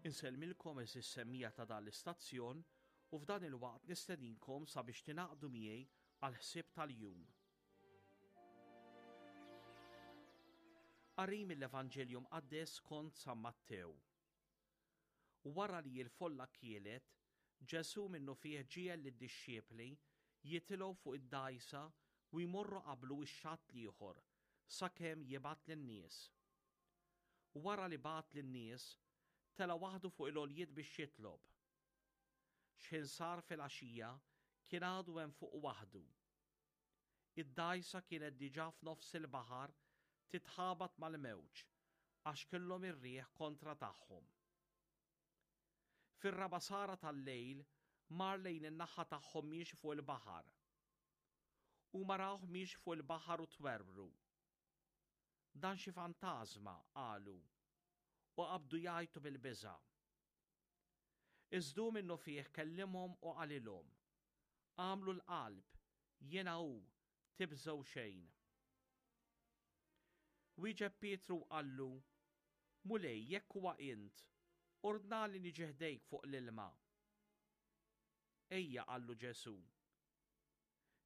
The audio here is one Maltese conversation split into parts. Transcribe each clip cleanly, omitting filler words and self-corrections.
Insellmilkom għeżież semmiegħa ta' dan l-istazzjon u f'dan il-waqt nistedinkom sabiex tingħaqdu miegħi għall-ħsieb tal-jum. Qari mill-Evanġelju Mqaddes skont San Mattew. Wara li l-folla kielet, Ġesù minnufih ġiegħel lid-dixxipli jitilgħu fuq id-dgħajsa u jmorru qablu x-xatt l-ieħor sakemm jibgħat lin-nies. Wara li bagħat lin-nies, tela' waħdu fuq il-għoljiet biex jitlob. X'ħin sar filgħaxija, kien għadu hemm fuq waħdu. Id-dgħajsa kienet diġà f'nofs il-baħar titħabat mal-mewġ għax kellhom ir-riħ kontra tagħhom. Fir-raba' sara tal-lejl mar lejn in-naħa tagħhom miexi fuq il-baħar. Huma rawh miexi fuq il-baħar u twerwru. Dan xi fantażma, qalu, u qabdu jgħajtu bil-biża'. Iżda hu minnufih kellimhom u qalilhom, Agħmlu l-qalb, jiena hu, tibżgħu xejn. Wieġeb Pietru u qallu, Mulej, jekk huwa int, ordnali niġi ħdejk fuq l-ilma. Ejja, qallu Ġesù.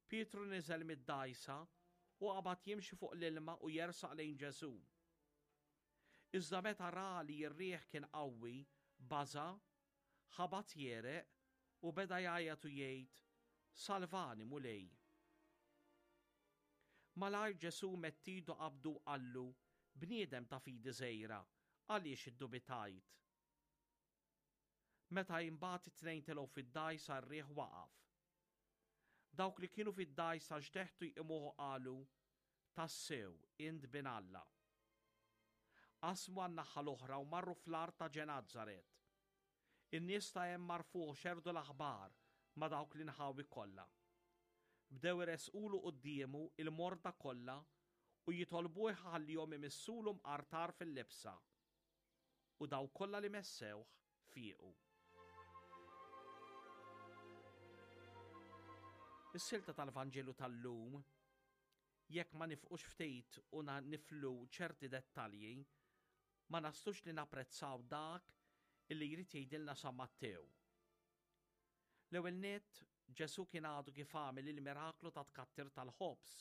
Pietru niżel mid-dgħajsa u qabad jimxi fuq l-ilma u jersaq lejn Ġesù. Iżda meta ra li r-riħ kien qawwi, baża', ħabat jegħreq u beda jgħajjat u jgħid, Salvani, Mulej! Malajr Ġesù medd idu qabdu u qallu, Bniedem ta' fidi żgħira, għaliex iddubitajt? Meta imbagħad it-tnejn telgħu fid-dgħajsa r-riħ waqaf. Dawk li kienu fid-dgħajsa xteħtu jqimuh u qalu, Tassew, int Bin Alla. Qasmu għan-naħa l-oħra u marru fl-art ta' Ġenazzaret. In-nies ta' hemm għarfuh u xerrdu l-aħbar ma' dawk l-inħawi kollha. Bdew iressqulu quddiemu il-morda kollha u jitolbuh iħallihom imissulu mqartar fil-libsa. U dawk kollha li messewh fiequ. Is-silta tal-Vanġelu tal-lum, jekk ma nifqux ftit u niflu ċerti dettalji, ma naslux li napprezzaw dak illi jrid jgħidilna San Mattew. L-ewwel nett, Ġesù kien għadu kif għamel il-miraklu ta' tkattir tal-ħobż.